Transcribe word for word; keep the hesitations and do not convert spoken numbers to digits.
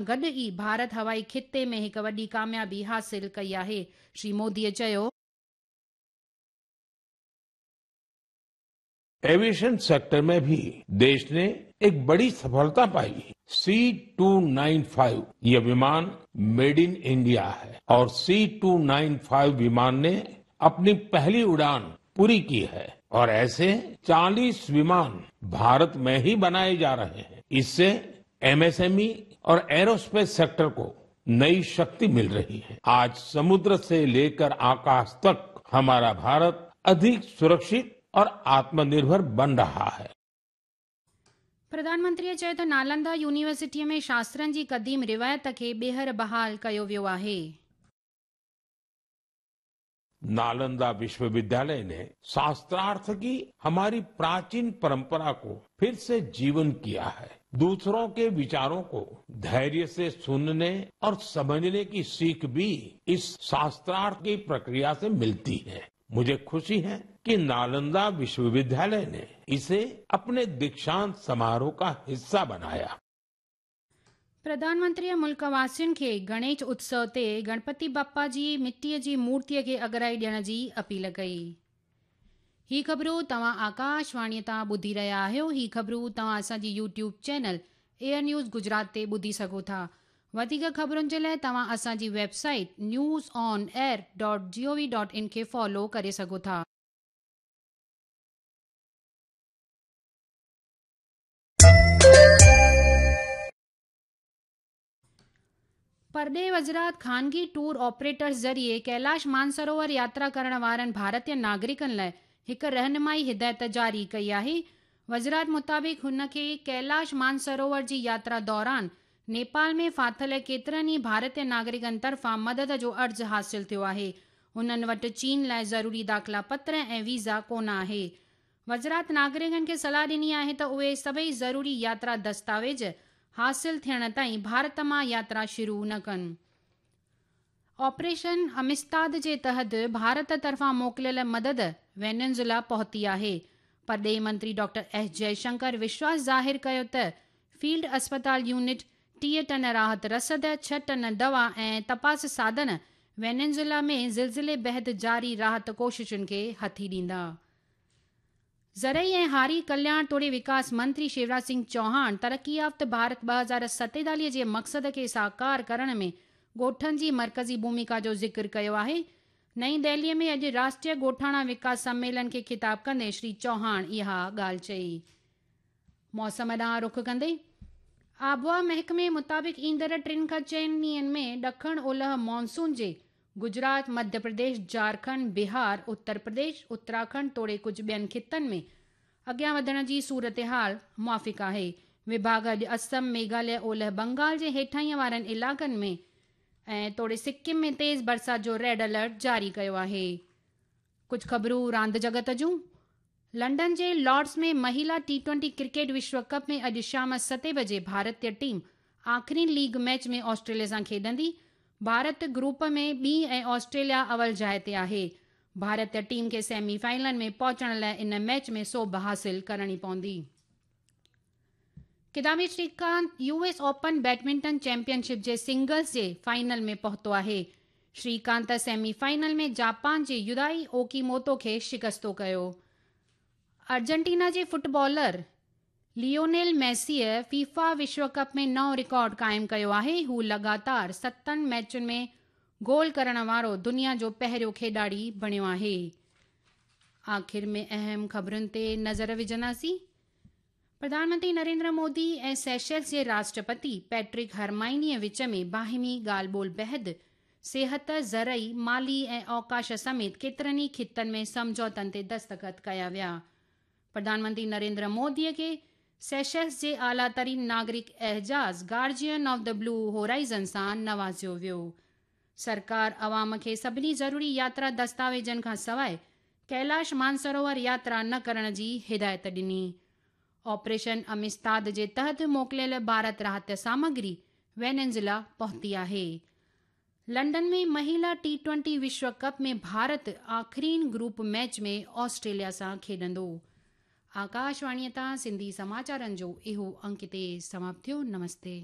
गॾु ई भारत हवाई ख़िते में हिकु वॾी कामयाबी हासिल कई आहे। श्री मोदीअ चयो, एविएशन सेक्टर में भी देश ने एक बड़ी सफलता पाई। सी टू नाइन फाइव ये विमान मेड इन इंडिया है और सी टू नाइन फाइव विमान ने अपनी पहली उड़ान पूरी की है और ऐसे चालीस विमान भारत में ही बनाए जा रहे हैं। इससे एमएसएमई और एरोस्पेस सेक्टर को नई शक्ति मिल रही है। आज समुद्र से लेकर आकाश तक हमारा भारत अधिक सुरक्षित और आत्मनिर्भर बन रहा है। प्रधानमंत्रीअ चयो त नालंदा यूनिवर्सिटीअ में शास्त्रनि जी क़दीम रिवायत खे ॿीहर बहाल कयो वियो आहे। नालंदा विश्वविद्यालय ने शास्त्रार्थ की हमारी प्राचीन परंपरा को फिर से जीवन किया है। दूसरों के विचारों को धैर्य से सुनने और समझने की सीख भी इस शास्त्रार्थ की प्रक्रिया से मिलती है। मुझे खुशी है कि नालंदा विश्वविद्यालय ने इसे अपने दीक्षांत समारोह का हिस्सा बनाया। प्रधानमंत्रीअ मुल्क वासियुनि खे गणेश उत्सव ते गणपति बप्पा जी मिटीअ जी मूर्तीअ खे अगराई ॾियण जी अपील कई। ही ख़बरूं तव्हां आकाशवाणीअ तां ॿुधी रहिया आहियो। ही ख़बरूं तव्हां असांजी YouTube channel air news Gujarat ते ॿुधी सघो था। वधीक ख़बरुनि जे लाइ तव्हां असांजी website news on air dot G O V dot in खे फॉलो करे सघो था। परॾेह वज़रात ख़ानगी टूर ऑपरेटर्स ज़रिए कैलाश मानसरोवर यात्रा करण वारनि भारतीय नागरिकनि लाइ हिकु रहनुमाई हिदायत जारी कई आहे। वज़रात मुताबिक़ हुन खे कैलाश मानसरोवर जी यात्रा दौरान नेपाल में फाथिल केतिरनि ई भारतीय नागरिकनि तरफ़ां मदद जो अर्ज़ु हासिल थियो आहे। हुननि वटि चीन लाइ ज़रूरी दाख़िला पत्र ऐं वीज़ा कोन आहे। वज़रात नागरिकनि खे सलाह ॾिनी आहे त उहे सभई ज़रूरी यात्रा दस्तावेज़ हासिल थियण ताईं भारत मां यात्रा शुरू न कनि। ऑपरेशन अमिस्ताद जे तहत भारत तरफ़ां मोकिलियल मदद वेनेज़ुएला पहुती आहे। परॾेही मंत्री डॉक्टर एस जयशंकर विश्वास ज़ाहिर कयो त फील्ड अस्पताल यूनिट टीह टन राहत रसद, छह टन दवा ऐं तपास साधन वेनेज़ुएला में ज़िलज़िले बाद जारी राहत कोशिशुनि खे हथी ॾींदा। ज़रई ऐं हारी कल्याण तोड़े विकास मंत्री शिवराज सिंह चौहान तरक़ी याफ़्त भारत ॿ हज़ार सतेतालीह जे मक़सद खे साकार करण में ॻोठनि जी मर्कज़ी भूमिका जो ज़िक्र कयो आहे। नई दिल्लीअ में अॼु राष्ट्रीय ॻोठाणा विकास सम्मेलन खे ख़िताब कंदे श्री चौहान इहा ॻाल्हि चई। मौसम ॾांहुं रुख कंदे आबहावा महकमे मुताबिक़ ईंदड़ टिनि खां चइनि ॾींहंनि में ॾखण ओलह मानसून जे गुजरात, मध्य प्रदेश, झारखंड, बिहार, उत्तर प्रदेश, उत्तराखंड तोड़े कुझु ॿियनि ख़ितनि में अॻियां वधण जी सूरत हाल मुआफ़िक़ आहे। विभाग अॼु असम, मेघालय, ओलह बंगाल जे हेठाईं वारनि इलाइक़नि में ऐं तोड़े सिक्किम में तेज़ बरसाति जो रेड अलर्ट जारी कयो आहे। कुझु ख़बरूं रांदि जगत जूं। लंदन जे लॉर्ड्स में महिला टी ट्वेंटी क्रिकेट विश्व कप में अॼु शाम सते बजे भारतीय टीम आख़िरी लीग मैच में ऑस्ट्रेलिया सां खेॾंदी। भारत ग्रुप में ॿी ऐं ऑस्ट्रेलिया अवल जाइ ते आहे। भारतीय टीम खे सेमीफाइनल में पहुचण लाइ इन मैच में सोभ हासिल करणी पवंदी। Kidambi Srikanth U S open badminton championship जे सिंगल्स जे फाइनल में पहुतो आहे। श्रीकांत सेमीफाइनल में जापान जे युदाई ओकीमोतो खे शिकस्तो कयो। अर्जेंटीना जे फुटबॉलर लियोनेल मेसीअ फीफा विश्व कप में नओं रिकॉर्ड क़ाइमु कयो आहे। हू लगातार सतनि मैचुनि में गोल करण वारो दुनिया जो पहिरियों खेॾाड़ी बणियो आहे। आख़िर में अहम ख़बरुनि ते नज़र विझंदासीं। प्रधानमंत्री नरेंद्र मोदी ऐं सेशल्स जे राष्ट्रपति पैट्रिक हरमाइनीअ विच में बाहिमी ॻाल्हि ॿोल बाद सिहत, ज़रई, माली ऐं अवकाश समेत केतिरनि ई ख़ितनि में सम्झौतनि ते दस्तख़त कया विया। प्रधानमंत्री नरेंद्र मोदीअ खे सेशल्स जे आला तरीन नागरिक एजाज़ guardian of the blue horizon सां नवाज़ियो वियो। सरकार अवाम खे सभिनी ज़रूरी यात्रा दस्तावेज़नि खां सवाइ कैलाश मानसरोवर यात्रा न करण जी हिदायत ॾिनी। ऑपरेशन अमिस्ताद जे तहत मोकिलियल भारत राहत सामग्री वेनेज़ुएला पहुती आहे। लंदन में महिला टी ट्वेंटी विश्व कप में भारत आख़िरीन ग्रुप मैच में ऑस्ट्रेलिया सां खेॾंदो। आकाशवाणीअ तां सिंधी समाचारनि जो इहो अंक हिते समाप्त थियो। नमस्ते।